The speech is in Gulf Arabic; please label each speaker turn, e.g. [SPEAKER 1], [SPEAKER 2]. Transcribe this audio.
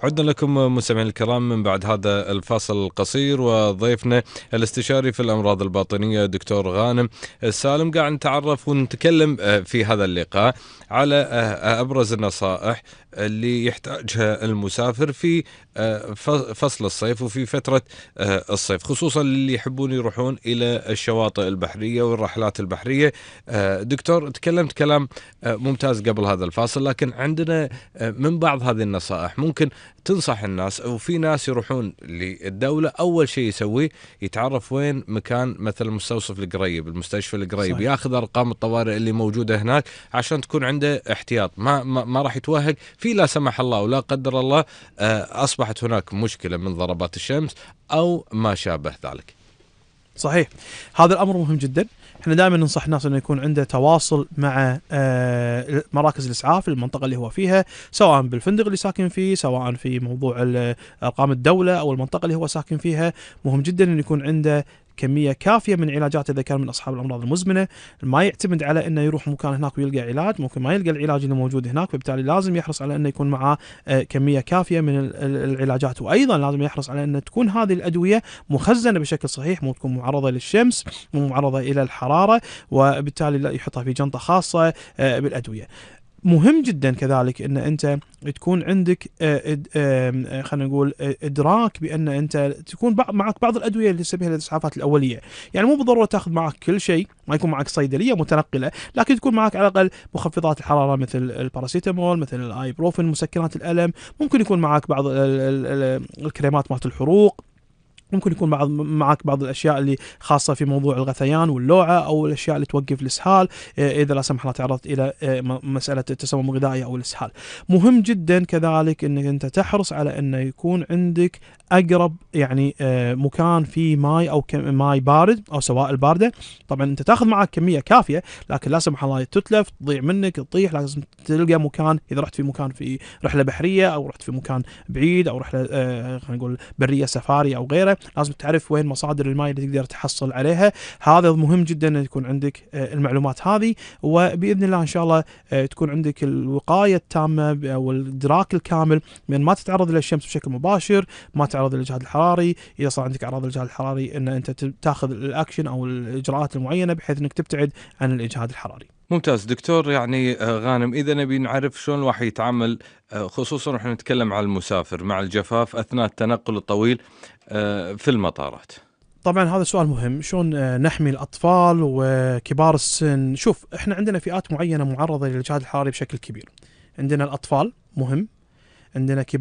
[SPEAKER 1] عدنا لكم مستمعينا الكرام من بعد هذا الفاصل القصير، وضيفنا الاستشاري في الأمراض الباطنية دكتور غانم السالم. قاعد نتعرف ونتكلم في هذا اللقاء على أبرز النصائح اللي يحتاجها المسافر في فصل الصيف وفي فترة الصيف، خصوصا اللي يحبون يروحون إلى الشواطئ البحرية والرحلات البحرية. دكتور، تكلمت كلام ممتاز قبل هذا الفاصل، لكن عندنا من بعض هذه النصائح ممكن تنصح الناس. وفي ناس يروحون للدولة أول شيء يسويه يتعرف وين مكان مثل المستوصف القريب، المستشفى القريب، صحيح. ياخذ أرقام الطوارئ اللي موجودة هناك عشان تكون عنده احتياط، ما راح يتوهق في لا سمح الله ولا قدر الله أصبحت هناك مشكلة من ضربات الشمس أو ما شابه ذلك.
[SPEAKER 2] صحيح، هذا الأمر مهم جدا. احنا دائما ننصح الناس انه يكون عنده تواصل مع مراكز الاسعاف المنطقه اللي هو فيها، سواء بالفندق اللي ساكن فيه، سواء في موضوع ارقام الدوله او المنطقه اللي هو ساكن فيها. مهم جدا انه يكون عنده كميه كافيه من علاجات اذا كان من اصحاب الامراض المزمنه، ما يعتمد على انه يروح مكان هناك ويلقى علاج، ممكن ما يلقى العلاج اللي موجود هناك، فبالتالي لازم يحرص على انه يكون معاه كميه كافيه من العلاجات، وايضا لازم يحرص على ان تكون هذه الادويه مخزنه بشكل صحيح، مو تكون معرضه للشمس، مو معرضه الى الحراره، وبالتالي لا يحطها في جنطه خاصه بالادويه. مهم جدا كذلك ان انت تكون عندك خلينا نقول ادراك بان انت تكون معك بعض الادويه اللي تسميها الاسعافات الاوليه، يعني مو بالضروره تاخذ معك كل شيء، ما يكون معك صيدليه متنقله، لكن تكون معك على الاقل مخفضات الحراره مثل الباراسيتامول، مثل الايبروفين، مسكنات الالم، ممكن يكون معك بعض الكريمات مالت الحروق، ممكن يكون معك بعض الاشياء اللي خاصه في موضوع الغثيان واللوعه، او الاشياء اللي توقف الاسهال اذا لا سمح الله تعرضت الى مساله التسمم الغذائي او الاسهال. مهم جدا كذلك انك انت تحرص على انه يكون عندك اقرب يعني مكان فيه ماي او ماي بارد او سوائل بارده. طبعا انت تاخذ معك كميه كافيه، لكن لا سمح الله تتلف، تضيع منك، تطيح، لازم تلقى مكان. اذا رحت في مكان في رحله بحريه، او رحت في مكان بعيد، او رحله خلينا نقول بريه سفاري او غيره، لازم تعرف وين مصادر الماء اللي تقدر تحصل عليها. هذا مهم جدا ان يكون عندك المعلومات هذه، وباذن الله ان شاء الله تكون عندك الوقايه التامه او الادراك الكامل من ما تتعرض للشمس بشكل مباشر، ما تتعرض للاجهاد الحراري. اذا صار عندك اعراض الاجهاد الحراري ان انت تاخذ الاكشن او الاجراءات المعينه بحيث انك تبتعد عن الاجهاد الحراري.
[SPEAKER 1] ممتاز دكتور. يعني غانم، إذا نبي نعرف شلون الواحد يتعامل، خصوصا نحن نتكلم على المسافر مع الجفاف أثناء التنقل الطويل في المطارات.
[SPEAKER 2] طبعا هذا سؤال مهم، شلون نحمي الأطفال وكبار السن. شوف، احنا عندنا فئات معينة معرضة للإجهاد الحراري بشكل كبير. عندنا الأطفال، مهم، عندنا كبار